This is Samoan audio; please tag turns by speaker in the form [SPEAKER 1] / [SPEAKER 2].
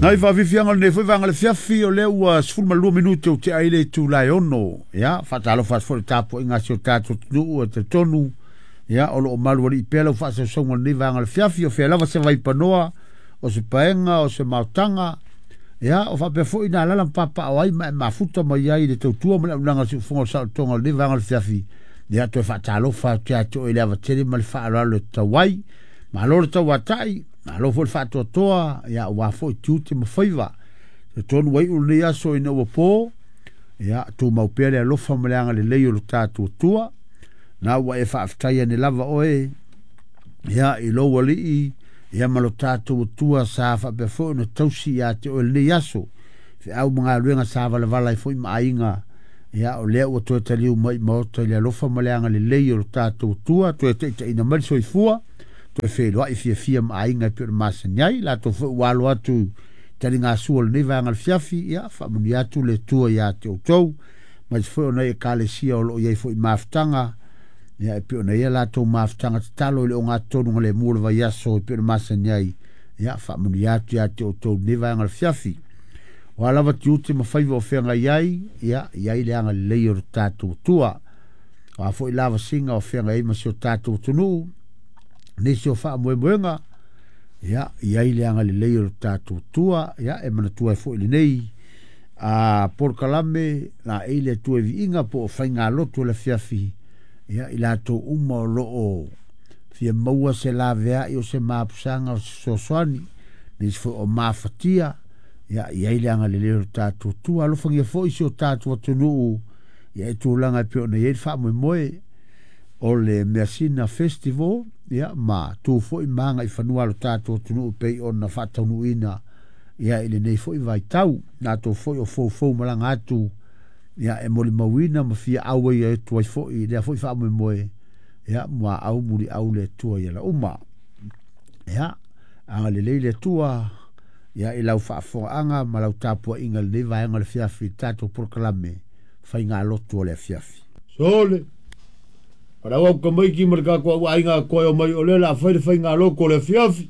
[SPEAKER 1] Nai faafiafiaga o lenei foi vaega o le afiafi, o lea ua 12 minute ua tea ai le itula e 6. Ia, faatalofa atu foi i le tapuaiga a si o tatou atunuu e talitonu, ia, o lo o malualii pea lau faasausauga o lenei vaega o le afiafi, o fea lava se vaipanoa, o se paega, o se maotaga, ia, o faapea foi na alala ma papaaao ai ma e mafuta mai ai i le tautua ma le auaunaga a le siufofoga o le saolotoga o lenei vaega o le afiafi. Ia, toe faatalofa atu ia te oe i le ava tele ma le faaaloalo e tatau ai. Malo le tauatai, malo foi le faatoatoa, ia, aua foi tiute ma faiva. Talitonu ua iu lenei aso ina ua po, ia, tumau pea le alofa ma le agalelei o lo tatou Atua. Na ua e faafetai ane lava oe, ia, i lou alii, ia ma lo tatou Atua sa faapea foi ona tausi ia te oe lenei aso. Feau ma galuega sa valavala ai foi ma aiga, ia, o lea ua toe taliu mai i maota i le alofa ma le agalelei o lo tatou Atua, toe taitaiina mai le soifua, toe feiloai fiafia ma aiga e pei ona masani ai. Latou foi ua alo atu i taligasua o lenei vaega o le afiafi, ia, faamanuia atu le Atua ia te outou, aemaise foi o nai ekalesia o lo o i ai foi mafutaga, ia, e pei ona i ai latou mafutaga tatalo i le ogatotonu galemu o le vaiaso e pei ona masani ai, ia, faamanuia atu ia te outou lenei vaega o le afiafi. O a lava tiute ma faiva o feagai ai, ia, i ai le agalelei o lo tatou Atua. O a foi lavasiga o feagai ai ma si o tatou atunuu, nisi o faamoemoega, ia, i ai le agalelei o lo tatou Atua. Ia, e manatua ai foi lenei a polokalame la e le Atua i viiga po o faigalotu o le afiafi, ia, i latou uma o lo o fia maua se laveai o se mapusaga o se fesoasoani, nisi foi o mafatia, ia, i ai le agalelei o lo tatou Atua. Alofagia foi si o tatou atunuu, ia, i tulaga e pei ona i ai le faamoemoe o le Measina Festival, ia, ma tu foi ma agaifanua a lo tatou atunuu pei ona faataunuuina, ia, i lenei foi vaitau. Latou foi o foufou malaga atu, ia, e molimauina ma fia auai atu ai foi i lea foi faamoemoe, ia, muaau muliau le Atua i ala uma. Ia, agalelei le Atua, ia, i lau faafofogaaga ma lau tapuaiga i lenei vaega o le afiafi i le tatou polokalame faigalotu o le afiafi.
[SPEAKER 2] Sole, o lau au tamaiti ma le tatou au aiga atoa e omai o lea o le a fai le faigalotu o le afiafi.